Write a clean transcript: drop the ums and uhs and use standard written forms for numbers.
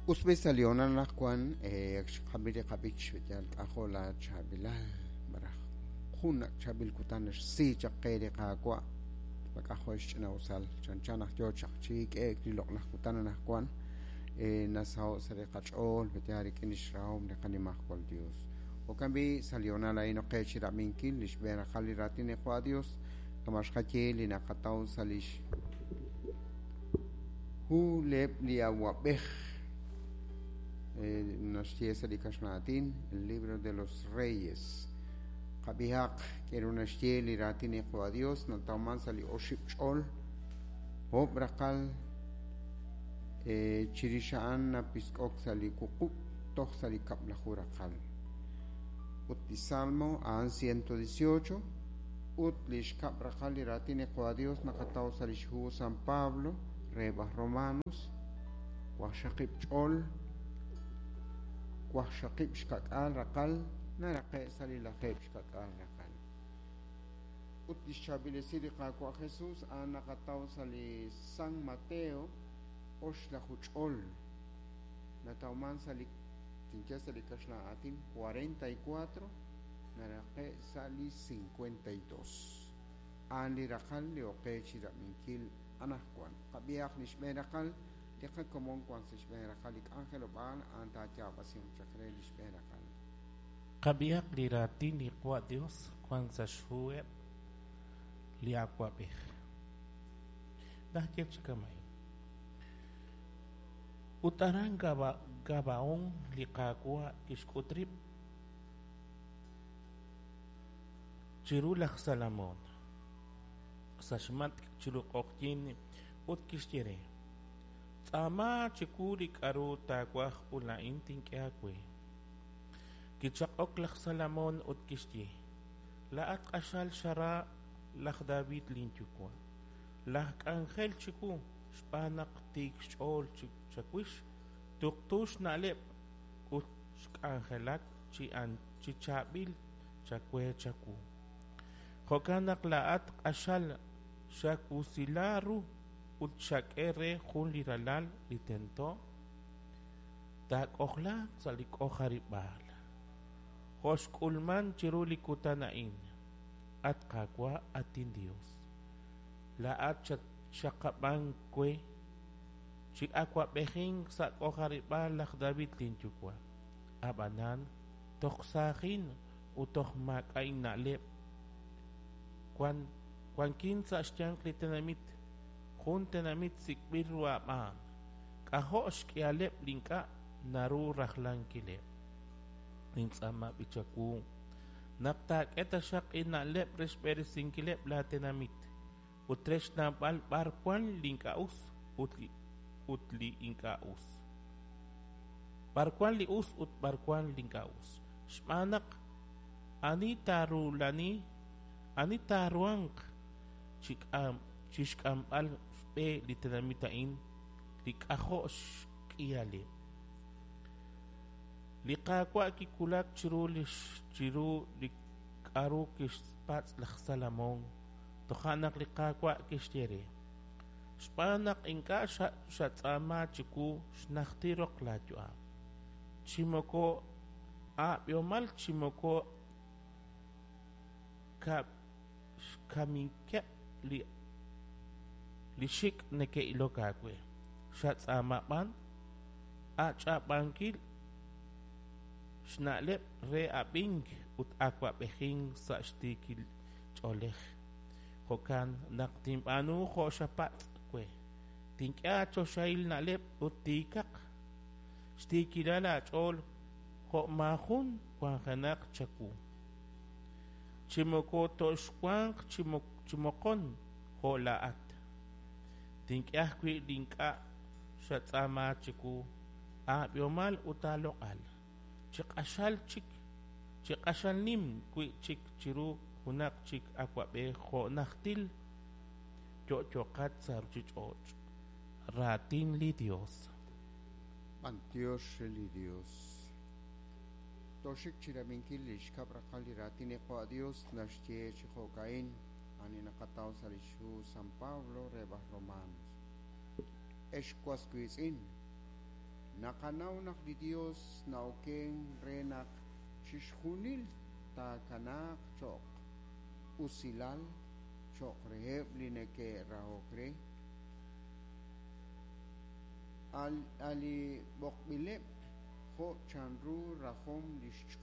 Us b'i sa' li hoonal anaqwan ak xqab'i li qab'ich yal k'ajo' la chaab'ilal malaj jun ak' chaab'il kutan naxsi chaq qe li Qaawa' ma k'ajo' xch'ina'usal chanchan naq yoo chaq chi hik'e'k li loq'laj kutan anaqwan nasaho' sa' li qach'ool yaal rik'in lix rahom li qanimajwal Dios. Jo'kan b'i' sa' li hoonal a'in ok qe chirab'inkil li xb'een raqal li raatin li Qaawa' Dios kama' xqaye li naqataw sa' lix Hu reheb' li Awa'b'ej naxye sa' li kaxlan aatin El libro de los Reyes. Qab'ihaq k'eru naxye li raatin li Qaawa' Dios natawman sa' li oxib' ch'ol oob' raqal chirix a'an napisk'ok sa' li wuqub' toj sa' li kab'laju raqal. Ut li Salmo a'an 118 ut li xkab' raqal li raatin li Qaawa' Dios naqataw sa' lix hu San Pablo reheb' aj Romanos, waqxaqib' ch'ol, waqxaqib' xka'k'aal raqal naraqe' sa' li lajeeb' xka'k'aal raqal. Ut lix chaab'il esil li Qaawa' Jesus a'an naqataw sa' li San Mateo oxlaju ch'ol, natawman sa' li tinye sa' li kaxlan aatin 44 naraqe' sa' li 52. A'an li raqal li ok qe chirab'inkil anaqwan. Qab'ihaq li xb'een raqal, li qakomon wan sa' xb'een raqal li k'anjelob'aal, a'an taayaab'asinq chaq re li xb'een raqal. Qab'ihaq li raatin li Qaawa' Dios wan sa' xhuheb' li awa'b'ej. Naxye chi kama'in, Ut aran Gabaón li Qaawa' kixk'ut rib' chiru laj Salomón sa' xmatk' chiru q'oqyink ut kixye re, Tz'aama chiwu li k'aru taawaj ut laa'in tink'e aawe. Kichaq'ok laj Salomón ut kixye, Laa'at q'axal xara laj David linyuwa', laj k'anjel chiwu, xb'aan naq tiik xch'ool chawix, tuqtu xna'leb' ut xk'anjelak chi chaab'il chawe chawu. Jo'kan naq laa'at q'axal xawusila ru ut xak'e re jun li ralal li tento taak'ojlaaq sa' li k'ojarib'aal, jo' xk'ulman chiru li kutan a'in. At Qaawa', at inDios, laa'at xatxaqab'ank we chi awa'b'ejink sa' k'ojarib'aal laj David linyuwa'. Ab'anan toj saajin ut toj maak'a' inna'leb'. Wan wankin sa' xyanq li tenamit, jun tenamit sik'b'il ru aab'aan, k'ajo' xk'ihaleb' li ink'a' naru rajlankileb'. Nintz'aama b'i chawu naq taak'e taxaq inna'leb' re xb'eresinkileb' laatenamit ut re xnawb'al b'ar wank li ink'a' us ut li ut li ink'a' us. B'ar wank li us ut b'ar wank li ink'a' us. Xb'aan naq ani taarulani, ani taaruhanq chi k'am chi xk'amb'al xb'e li tenamit a'in li k'ajo' xk'ihaleb'. Li Qaawa' kiwulak chiru li chiru li k'aru kixpatz' laj Salomón. Toja' naq li Qaawa' kixye re, Xb'aan naq ink'a' xatz'aama chiwu xnajtil roq laayu'am, chi moko aab'ihomal chi moko xkamikeb' li xik' neke'ilok aawe, xatz'aama b'an aach'ab'ankil xna'leb' re ab'ink ut awa'b'ejink sa' xtiikil ch'oolej. Jo'kan naq tinb'aanu jo' xapatz' we. Tink'e aachoxahil na'leb' ut tiikaq xtiikilal aach'ool jo' maajun wanjenaq chawu. Chi moko toxwanq chi moqon jo' laa'at. Tink'e ajwi' li ink'a' xatz'aama chiwu, aab'ihomal ut aaloq'al, chi q'axal chik chi q'axal nim wi'chik chiru junaq chik awa'b'ej jo' najtil yo'yoqat sa' ruchich'och'. Raatin li Dios. B'antiox re li Dios. Tooxik chirab'inkil li xkab' raqal li raatin li Qaawa' Dios naxye chi jo'ka'in, ani naqataw sa' lix hu San Pablo reheb' aj Romanos. Ex was wiitz'in, Naqanaw naq li Yos na'okenk re naq chixjunil taakanaaq cho'q usilal cho'q reheb' li neke'rahok re, a' li b'oqb'ileb' jo' chanru rajom li xch'ool.